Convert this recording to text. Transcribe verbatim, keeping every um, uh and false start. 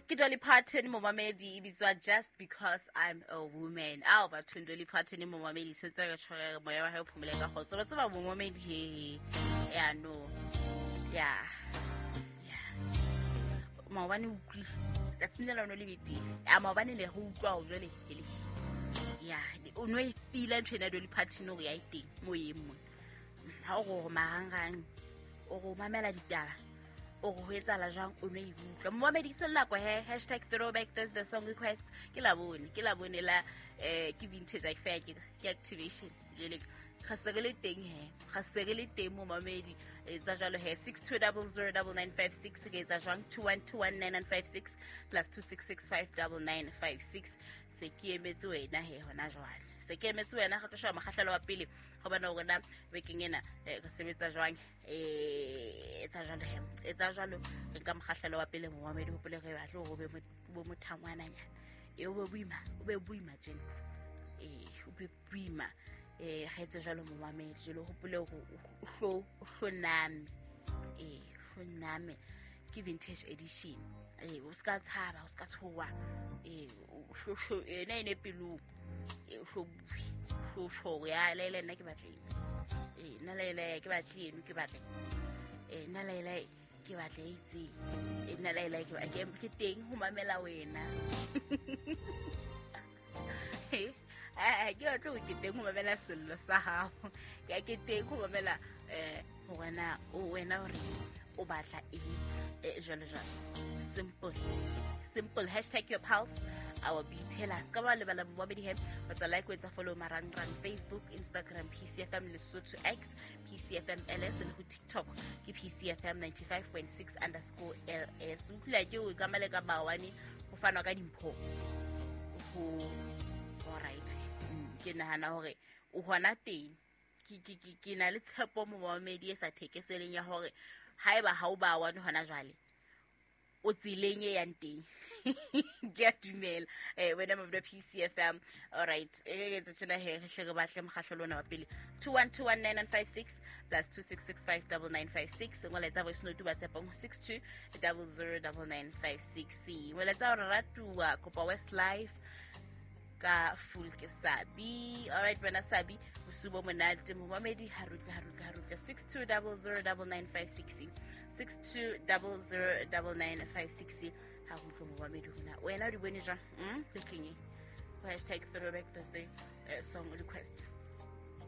Ke Dolly Parton, momamedi, e bitswa Just Because I'm a Woman. Ao bathong, Dolly Parton, momamedi, sentse re tshwere moya wa hae o phomole ka kgotso. Ba tseba, momamedi, he ya no ya ya maobane o utlwile tsatsing le lona le betere ya maobane ne re utlwa ho jwale hele ya o no e feel-a ntho ena ya Dolly Parton hore ya e teng moyeng mona. Ha o re marangrang, o re o mamela ditaba, o re ho etsahala jwang, o no e utlwa, momamedi. Ke se nako he hashtag throwback Thursday song request. Ke labone, ke labone la eh ke vintage affair, ke ke activation. Jwale ga se re le teng he, ga se re le teng, momamedi. Etsa jwalo he, six two zero zero nine nine five six. Re etsa jwang? two one two one nine nine five six plus two six six five nine nine five six. Se ke emetse wena he hona jwale, se ke emetse wena. Re tlo sheba mokgahlelo wa pele gobane rona bekeng ena eh, re sebetsa jwang? eh etsa jwalo he, etsa jwalo. Re nka mokgahlelo wa pele, momamedi. Hopole re batle hore o be mo- bo mothangwananyana e o be boima, o be boima tjena, ee, o be boima. um ga etse jwalo, momamedi. Jalo hopole hore o hlo o hloname, ee, hloname. Ke vintage edition. Ee, o ska tshaba, o ska tshoha. Ee, o hlo- hlo- ena ene pelong. Ee, o hlo bue, o hlo tjho hore ya laela nna ke batla eng. Ee, nna laela ke batle eno, ke batla eng. Ee, nna laela ke batla e itseng. Ee, nna laela ke ba- ke ke teng ho mamela wena. Eh, ke batle hore ke teng ho mamela sello sa hao. Ke ke teng ho mamela um hore na o wena hore o batla eng, eh, jwalo jwalo. Simple, simple. Hashtag your pulse, our beat. Tell us ka ba lebala, momamedi he. Wa tsa like, o etsa follow marangrang: Facebook, Instagram, P C F M Lesotho, X, P C F M L S, le ho TikTok ke P C F M ninety-five point six underscore L S. Utlwila ke o ka male ka mawane ho fanwa ka dimpho ho. Alright. Mm, ke nahana hore o hona teng. ke ke ke ke na le tshepo, momamedi, e sa thekeseleng ya hore haeba ha o ba one hona jwale, o tseleng e yang teng. Ke a dumela eh wena mabula P C F M. Alright, e re etsa tjena he, re hle re batle mokgahlelo ona wa pele: two one two one nine nine five six plus two six six five nine nine five six. Ngola, voice note WhatsApp six two zero zero nine nine five six. Ngola hore ratuwa, kopa Westlife ka Fool ke Sabi. Alright, wena Sabi, bosiu bo monate, momamedi. Harutle, harutle, harutle. six two zero zero nine nine five six, six two zero zero nine nine five six. Ha ho utlwe, momamedi, hona wena o di bone jwang? mm bekeng e go hashtag throwback Thursday eh, song request.